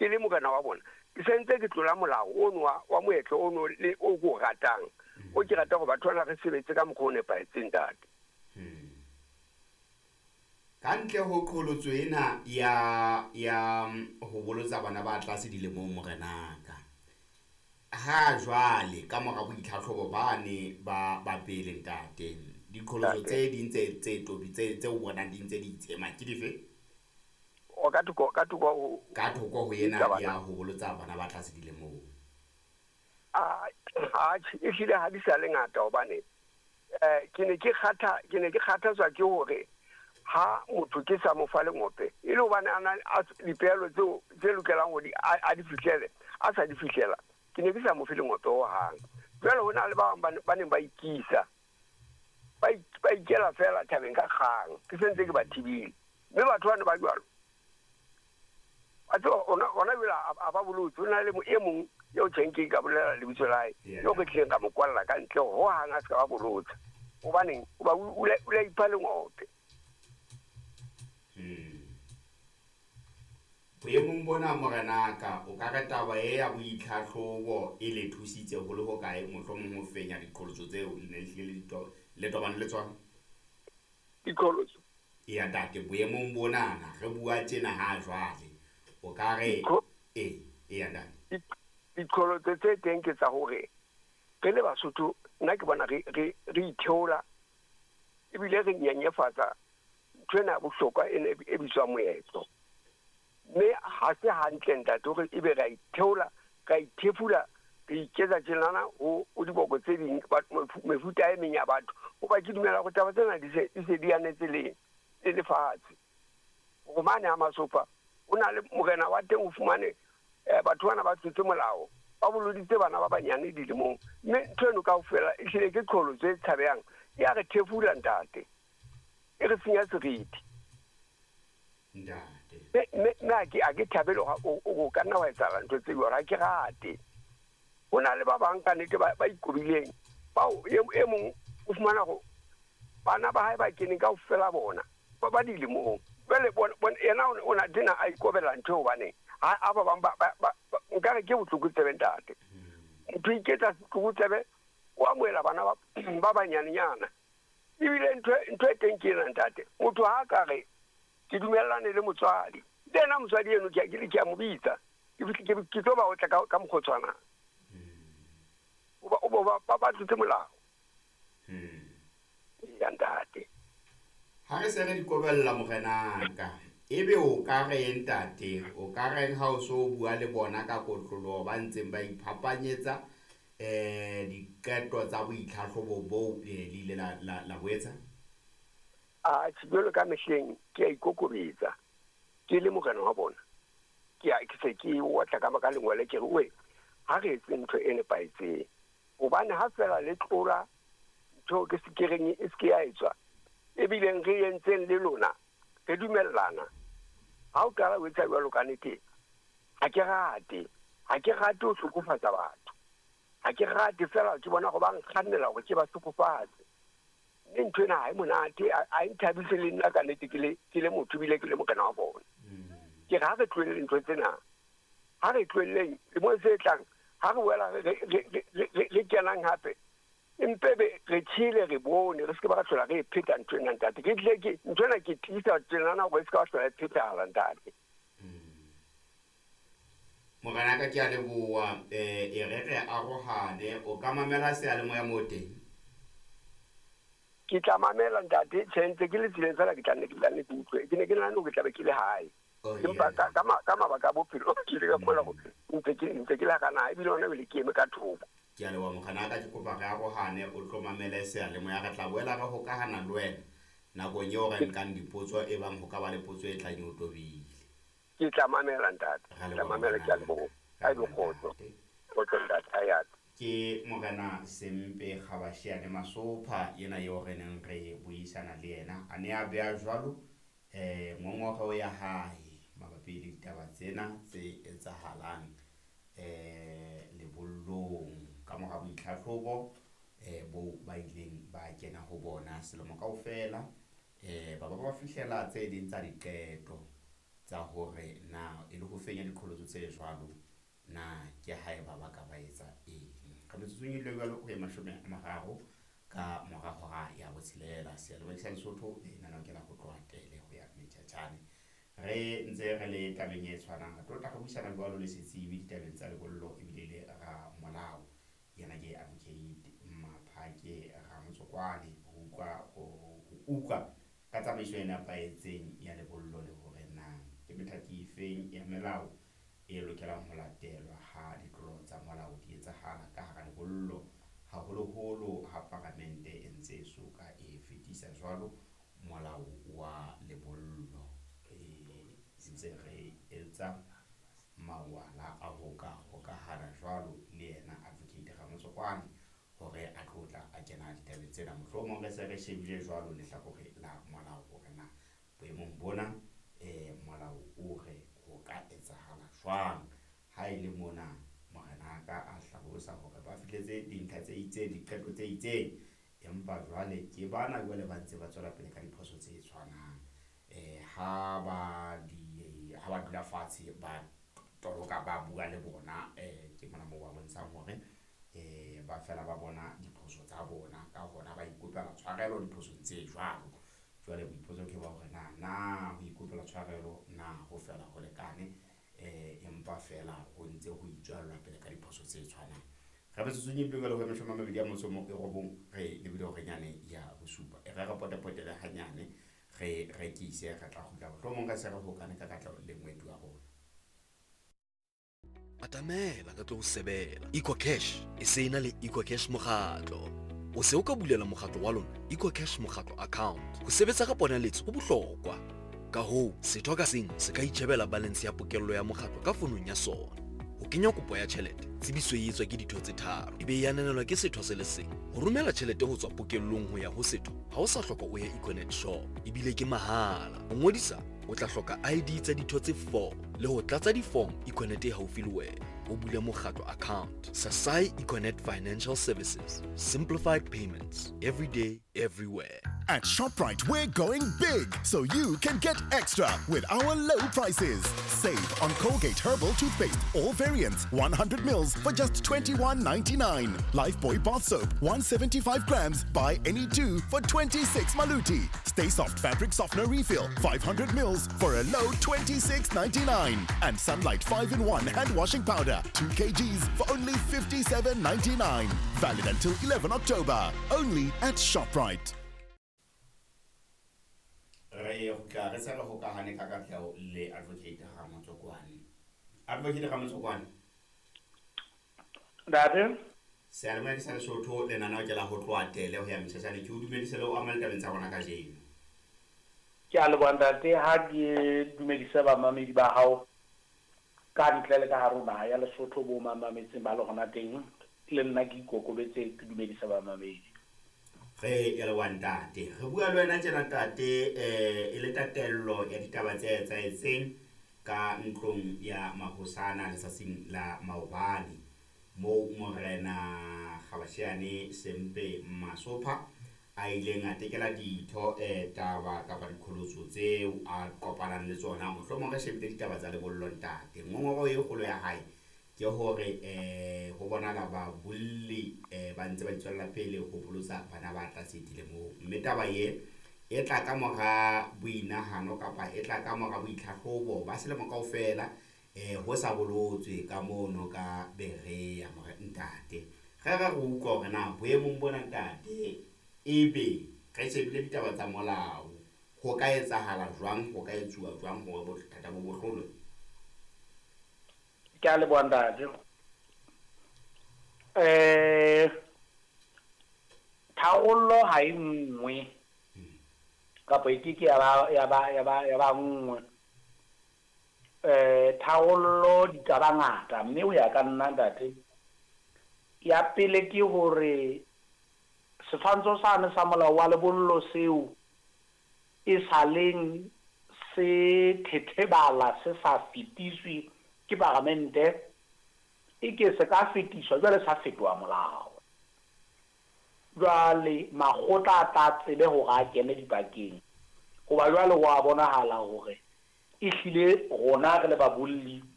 Ke le morena wa bona, ke sentse ke tlola molao ono wa moetlo ono le o ko ratang, o ke rata hore batho bana re sebetse ka mokgwa o nepahetseng, ntate. Ka ntle ho qholotso ena ya ho bolotsa bana ba tlase dilemong, morenaka, ha jwale ka mora boitlhatlhobo bane ba pele, ntate, diqholotso tse ding tse tobi tse o bonang di ntse di itshema ke dife? O ka thoko ka thoko ho ka thoko ho ena ya ho bolotsa bana ba tlase dilemong. A ehlile ha di sa le ngata, hobane ke ne ke kgathatswa ke hore ha motho ke sa mo fa lengope, e le hobane a na dipehelo tseo tse lokelang hore a di fihlele, a sa di fihlela, ke ne ke sa mo fe lengope hohang. Jwale ho na le ba bang ba neng ba ikisa, ba ikela fela thabeng ka kgang, ke sentse ke ba thibile. Mme batho bana ba jwalo, a tseba ona jwale a ba bolotse. Ho na le e mong eo tjheng ke ka bolela lebitso la hae, eo re tlileng ka mo kwalla ka ntle hohang a se ka ba bolotsa. Hobaneng? Hoba o la ipha lengope. Boemong bona, morenaka, o ka re taba e ya boitlhatlhobo e le thusitse ho le hokae mohlomong ho fenya diqholotso tseo le ne le hlile le tobane le tsona? Diqholotso? Eya, ntate, boemong bonana re bua tjena ha jwale, o ka re eya, ntate. Diqholotso tse teng ke tsa hore re le Basotho, nna ke bona re itheola ebile re nyenyefatsa ntho ena ya bohlokwa e bitswang moetlo. Mme ha se hantle, ntate, hore ebe ra itheola, ra ithefula, re iketsa tjenana ho diboko tse ding, mefuta e meng ya batho. Hoba ke dumela hore taba tsena di se di anetse le lefatshe. Hore mane ha Masopha o na le morena wa teng, o fumane batho bana ba tlotse molao, ba boloditse bana ba banyane dilemong. Mme ntho eno kaofela ehlile ke qholotso e tshabehang, ya re thefula, ntate, e re senya seriti. Ntate. Mme a ke thabele o ka nna wa etsahala ntho tse jwalo, ha ke rate. Ho na le ba bang ka nnete ba ikobileng, bao e mong o fumana hore bana ba hae ba keneng kaofela bona ba dilemong. Jwale yena o na tena a ikobela ntho hobaneng ha ba bang ba nkare ke botlokotsebe, ntate. Motho iketsa setlokotsebe, o amohela bana ba banyanenyana. Ebile ntho e teng ke ena, ntate. Motho ha ka re ke dumellane le motswadi, le yena motswadi eno ke a mo bitsa, ke tlo ba otla ka mokgwa o tshwanang. Ba tlotse molao. Ya, ntate. Ha re se re di kobella, morenaka, ebe o ka reng, ntate, o ka reng ha o so bua le bona ka kotloloho ba ntseng ba iphapanyetsa diqeto tsa boitlhatlhobo boo le ile la bo etsa? A jwalo ka mehleng ke a ikokobetsa, ke le morena wa bona, ke se ke otla ka lengwele, ke re we ha re etse ntho e nepahetseng. Hobane ha fela le tlola ntho ke se ke reng e se ke ya etswa, ebileng re entseng le lona re dumellana. Ha o qala o etsa jwalo ka nnete, ha ke rate ho hlokofatsa batho. Ha ke rate fela ke bona go ba nkgannela hore ke ba hlokofatse. Mme ntho ena ha e monate, ha e nthabise le nna ka nnete, ke le motho ebile ke le morena wa bona. Ke re ha re tlohelleng ntho tsena, ha re tlohelleng lemong se tlang, ha re boela re kenang hape, empe be re tjhele, re bone, re se ke ba hlola re pheta ntho ena, ntate. Ke tlile ke ntho ena ke tiisa tjenana hore e se ka ba hlola e phethahala, ntate. Morenaka, ke a leboha. E re arohane, o ka mamela seyalemoya moo teng? Ke tla mamela, ntate. Tjhe, ntse ke le tseleng fela, ke tla nne ke utlwe. Ke ne ke nahane hore ke tla be ke le hae, empa ka mabaka a bophelo ke ile ka kgona hore ntse ke le hara naha, ebile hona jwale ke eme ka thoko. Ke a leboha, morenaka. Ke kopa re arohane, o tlo mamele seyalemoya. Re tla boela re hokahana le wena nakong eo re nkang dipotso, e bang ho ka ba le potso e tlang e o tobile. Ke tla mamela, ntate. Ke tla mamela, ke a leboha. Ha ebe kgotso. Kgotso, ntate. Ha ya. Ke morena Sempe Kgabashiane Masopha yena eo re neng re buisana le yena, a ne a beha jwalo ngongoreho ya hae mabapi le ditaba tsena tse etsahalang lebollong ka mora boitlhatlhobo bo ba ileng ba kena ho bona selemo kaofela, ba ba fihlela tse ding tsa diqeto. tsa hore na e le ho fenya diqholotso tse jwalo na ke haeba ba ka ba etsa eng. Ka metsotsong e le jwalo ho ye 30 ka mora hora ya 6. Seyalemoya sa Lesotho lenaneo ke la ho tloha Tele ho ya Mthatjane. Re ntse re le tabeng e tshwanang, re tlo tla re buisana jwalo le setsebi ditabeng tsa lebollo ebile le ramolao. Yena ke Advocate Maphake Ramotsokwane, ho utlwa ka tsamaiso e nepahetseng ya lebollo le hore na ke methati efeng ya melao e lokelang ho latelwa ha ditlolo tsa molao di etsahala ka hara lebollo, haholoholo ha paramente e ntse e soka e fetisa jwalo molao wa lebollo. Re ntse re etsa mawala a ho ka hokahana jwalo le yena Advocate Ramotsokwane hore a tlo tla a kena ditabeng tsena. Mohlomong re se re shebile jwalo lehlakore la molao hore na boemong bona molao o re ho ka etsahala jwang. Ha e le mona morenaka a hlalosa hore ba fihletse dintlha tse itseng, diqeto tse itseng, empa jwale ke bana jwale ba ntse ba tswela pele ka diphoso tse tshwanang. Ha ba dula fatshe ba toloka ba bua le bona, ke mona moo ba bontshang hore ba fela ba bona diphoso tsa bona, ka hona ba ikopela tshwarelo diphosong tse jwalo. Jwale boipotso ke ba hore na ho ikopela tshwarelo na ho fela ho lekane, empa fela ho ntse ho itswellwa pele ka diphoso tse tshwanang. Re metsotsong e pele ho 29 re lebile hore nyane ya 7. E re re potepotele hanyane re rekise, re tla kgutla mohlomong re se re hokane ka katleho le moeti wa rona. Atamela ka tlo ho sebela. EcoCash e se na le EcoCash mokgatlo. O se o ka bulela mokgatlo wa lona EcoCash mokgatlo account. Ho sebetsa ka ponaletso ho bohlokwa. Ka hoo, setho ka seng se ka itjhebela balance ya pokello ya mokgatlo ka fonong ya sona. Ho kenya kopo ya tjhelete, tsebiso e etswa ke ditho tse 3, ebe e ananelwa ke setho se le seng. Ho romela tjhelete ho tswa pokellong ho ya ho setho, ha o sa hloka o ye Econet shop, ebile ke mahala. Ho ngodisa, o tla hloka ID tsa ditho tse 4 le ho tlatsa di-form Econet e haufi le wena. O bule mokgatlo account. Sasai Econet Financial Services. Simplified payments. Every day, everywhere. At ShopRite, we're going big so you can get extra with our low prices. Save on Colgate Herbal Toothpaste, all variants, 100 mils for just $21.99. Lifebuoy Bath Soap, 175 grams, buy any 2 for 26 maluti. Stay Soft Fabric Softener Refill, 500 mils for a low $26.99. And Sunlight 5-in-1 Hand Washing Powder, 2 kgs for only $57.99. Valid until 11 October. Only at ShopRite. Re kgutla re se re hokahane ka katleho le Advocate Ramotsokwane. Advocate Ramotsokwane. Ntate. Seyalemoya ke sa Lesotho lenaneo ke la ho tloha Tele ho ya Mthatjane. Ke o dumedise le ho ama ditabeng tsa rona kajeno. Ke a leboha ntate, ha ke dumedise bamamedi ba hao ka ntle le ka hare ho naha ya Lesotho bo mamametseng ba le hona teng, le nna ke ikokobetse ke dumedise bamamedi. Re ya leboha ntate. Re bua le wena tjena ntate, e le tatello ya ditaba tse etsahetseng ka ntlong ya mahosana letsatsing la maobane, moo morena Kgabashiane Sempe Masopha a ileng a tekela ditho taba kapa diqholotso tseo a kopanang le tsona. Mohlomong re shebile ditaba tsa lebollo ntate. Ngongoro e kgolo ya hae ke hore ho bonahala babolli ba ntse ba itswella pele ho bolotsa bana ba tlase dilemong, mme taba e e tla ka mora boinahano kapa e tla ka mora boitlhahlobo ba selemo kaofela ho sa bolotswe ka mono ka Berea. More ntate, re re re utlwa hore na boemong bona ntate ebe re shebile ditaba tsa molao, ho ka etsahala jwang, ho ka etsuwa jwang hore bothata bo bohlolwe? Ke a leboha ntate. Tharollo ha e nngwe kapa e ke ke ya ba nngwe. Tharollo di ka ba ngata, mme ho ya ka nna ntate, ya pele ke hore setshwantsho sane sa molao wa lebollo seo e saleng se thethebala se sa fetiswe ke paramente, e ke se ka fetiswa jwale sa fetoha molao. Jwale makgotla a tla tsebe hore a kene dipakeng, hoba jwale ho a bonahala hore Ehlile rona re le babolli.